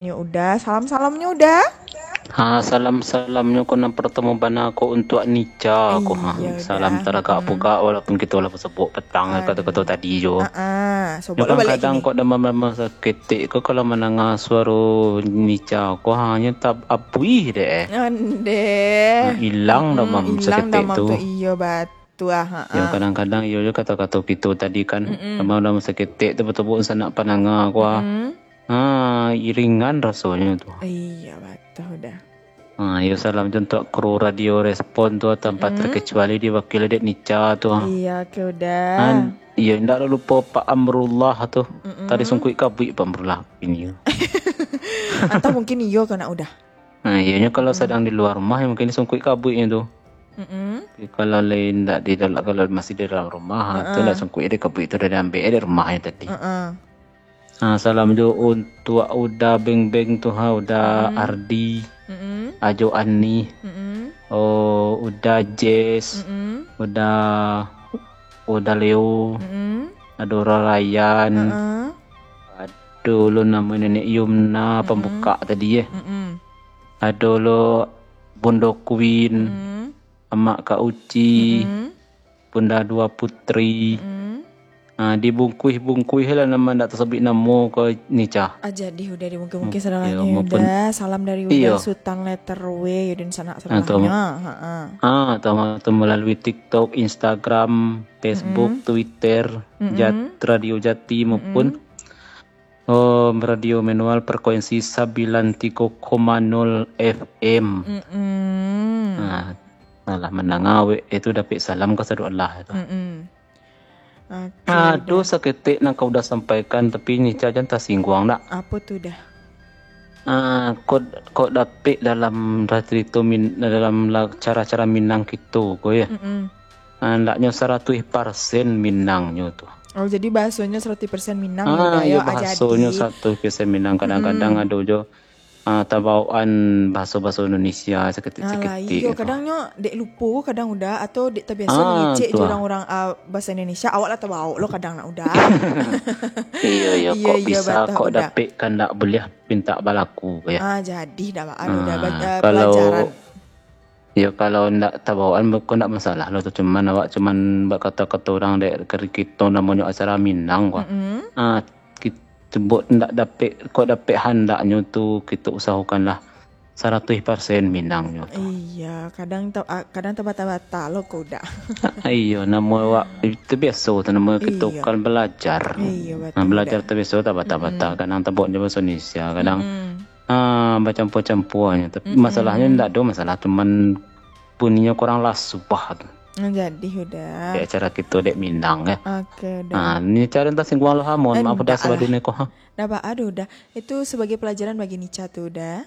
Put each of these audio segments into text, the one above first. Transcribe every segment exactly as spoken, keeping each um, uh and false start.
Nyo Uda, salam-salamnyo Uda. Ha, salam-salamnyo ko nan partamo bana ko untuak Nica ko. Ha, iyo, salam Uda. Taragak pugak walaupun kito lah basobok patang kato-kato tadi jo. Ah, ah, sobok lah balik. Kadang-kadang kini kok damam-damam saketek ko kalau mandanga suaro Nica ko, ha, nyo tak abuih dek. Ondeh. Ha, ilang damam saketek tu. Iyo, bat- Tu ah, ha, yo, ah. Kadang-kadang iyo jo kato-kato kito tadi kan, mm-mm, damam-damam saketek tu basobok sanak pandanga ko ah. Mm-mm. Ha, iringan rasonyo tu. Iyo, batua Uda. Ha, yo, salam jo untuak kru Radio Respon tu, tanpa, mm-mm, terkecuali diwakili dek Nica tu ah. Iyo, oke Uda. Ha, iyo, indak lupo Pak Amrullah tu. Mm-mm. Tadi sungkuik kabuik Pak Amrullah ini. Atau mungkin iyo ka nak Uda. Nah, iyonyo kalau, hmm, sadang di lua rumah, yo mungkin sungkuik kabuiknyo tu. Mm-mm. Kalau lai ndak di dalam, kalau masih di dalam rumah, ha, tu, heeh, lah sungkuik dek kabuik tu, dah diambiak dek rumahnyo tadi. Heeh. Nah, salam jo untuak Uda Beng Beng tu ha, Uda, mm-mm, Ardi, mm-mm, Ajo Ani, mm-mm, oh, Uda Jess, mm-mm, Uda, Uda Leo, mm-mm, ado Uda Ryan, heeh. Ado lo namo Nenek Yumna, mm-mm, pambukak tadi, eh. Mm-mm. Ado lo Bundo Queen, mm-mm, Amak Kak Uci, mm-mm, Bunda Dua Putri. Mm-mm. Ah, dibungkuih-bungkuih lah namo, ndak tasabuik namo ko Nica. Ah, jadi Uda dibungkuih-bungkuih sadolahnyo, yo, maupun Uda. Salam dari Uda, iyo, Sutan Letter W, yo, dan sanak sadolahnyo. Ha, ah, tu, tu melalui TikTok, Instagram, Facebook, mm-mm, Twitter, mm-mm, Jat-, Radio Jati maupun, mm-mm, oh, Radio Manual Frekuensi sambilan tigo koma nol F M. Mm-mm. Nah, alah mandanga awak itu dapek salam ka sado Allah itu. Mm-mm. Oke, ado Uda. Saketek nan ka Uda sampaikan, tapi Nica jan tasingguang nak. Apo tu Uda? Ah, kok, kok dapek dalam carito Min-, dalam la-, cara-cara Minang kito ko, ya. Mm-mm. Ah, andaknyo saratuih parsen Minangnyo tu. Oh, jadi bahasonyo saratuih parsen Minang, ah, ya, Uda, iyo, yo, bahasonyo ajadi. Saratuih parsen Minang. Kadang-kadang, mm-mm, ado jo, ah, tabaokan bahaso-bahaso Indonesia saketek-saketek. Alah, iyo, tu. Kadangnyo dek lupo, kadang Uda, atau dek tabiaso, ah, mangecek jo urang-urang, ah, bahaso Indonesia, awak lah tabaok lo kadang nak Uda. Iyo, iyo, iyo, kok iyo, bisa, batah kok Uda. Dapek kandak buliah pintak balaku, ya. Ah, jadi dah, Uda, ah, ba-, eh, kalau pelajaran. Yo, kalau ndak tabaokan, beko ndak masalah lo tu. Cuman awak cuman bakato-kato urang dek kari kito namonyo acara Minang ko. Mm-mm. Ah, kito buek ndak dapek, kok dapek handaknyo tu, kito usahokanlah saratuih parsen Minangnyo tu. Iya, kadang ta-, ah, kadang tabata-bata lo ko Uda. Ah, iyo, namo awak itu biaso tu, namo kito, iyo, kan balajar. Iyo, nah, batul, balajar Uda. Tu biaso tabata-bata. Mm-mm. Kadang tabaok jo bahaso Indonesia, kadang, mm-mm, ah, bacampua-campuanyo. Tapi, mm-mm, masalahnyo ndak ado masalah, cuman bunyinyo kurang lasuah tu. Nah, jadi Uda. Dek acara kito dek Minang, ya. Oke, Uda. Ah, Nica jan tasingguang lo ha, mohon maaf Uda, ndak lah. Sabadunia ko ha. Ndak apa-apa Uda. Itu sebagai pelajaran bagi Nica tu Uda.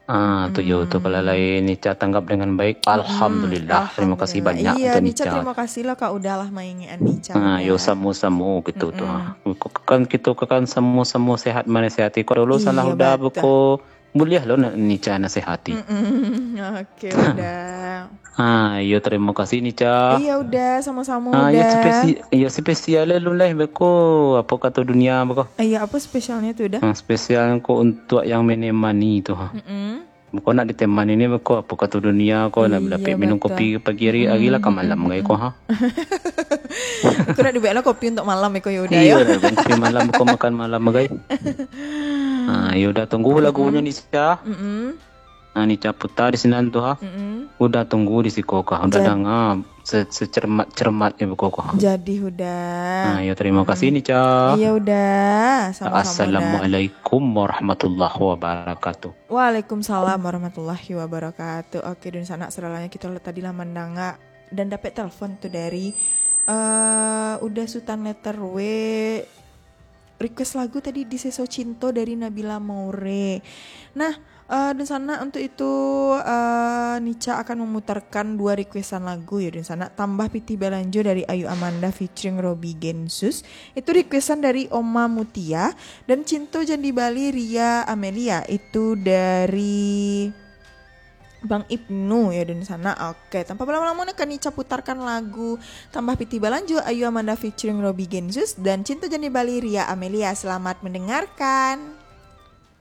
Ah, tu yo tu, kalau, hmm, lai Nica tanggap dengan baik, hmm, alhamdulillah. Terima kasih banyak, iya, untuk Nica, Nica. Terima kasih lah ka Uda lah maingek an Nica, ah, Uda. Yo, samo-samo kito tu, mm-mm, ha. Kan kito kan samo-samo sehat manasihati. Kok dulu salah Uda, iya, batua. Beko buliah lo na-, Nica nasihati. Mm-mm. Oke, Uda. Ah, iyo, terima kasih, Nica. Iya, Uda, samo-samo, ah, Uda. Iyo, spesi-, iyo, spesial lo lai beko, apo kato dunia beko. Iya, apo spesialnyo tu, Uda? Ah, spesial ko untuak yang menemani tu, ha. Mm-mm. Beko nak ditemani ni beko, apo kato dunia ko, nak, iya, dapek minum, batua, kopi pagi hari, mm-mm, hari lah ka malam, mm-mm, gai ko, ha. Ko nak dibuek lah kopi untuak malam, iko, yo, Uda, iyo, yo. Dah, kopi malam, beko makan malam, gai. Ah, yo, Uda tunggu lagunyo, mm-mm, Nica. Mm-mm. Ah, Nica puta di sinan tu, ha. Mm-mm. Uda tunggu di siko ka. Uda danga se-, secermat-cermatnyo beko ka. Jadi, Uda. Ah, yo, terima kasih, mm, Nica. Iya, Uda. Sama-sama, Uda. Assalamualaikum warahmatullahi wabarakatuh. Waalaikumsalam warahmatullahi wabarakatuh. Oke, dunsanak, sadolahnyo, kito tadi lah mandanga dan dapek telepon tu dari, eh, Uda Sutan Letter W. Request lagu tadi, Diseso Cinto dari Nabila Maure. Nah, eh, dunsanak, untuk itu, eh, Nica akan memutarkan dua requestan lagu, yo, dunsanak. Tambah Pitih Balanjo dari Ayu Amanda featuring Robby Gensus. Itu requestan dari Oma Mutia. Dan Cinto Jan Dibali Ria Amelia, itu dari Bang Ibnu, yo, dunsanak. Oke, tanpa balamo-lamo, nak Nica putarkan lagu Tambah Pitih Balanjo, Ayu Amanda featuring Robby Gensus, dan Cinto Jan Dibali Ria Amelia. Selamat mendengarkan.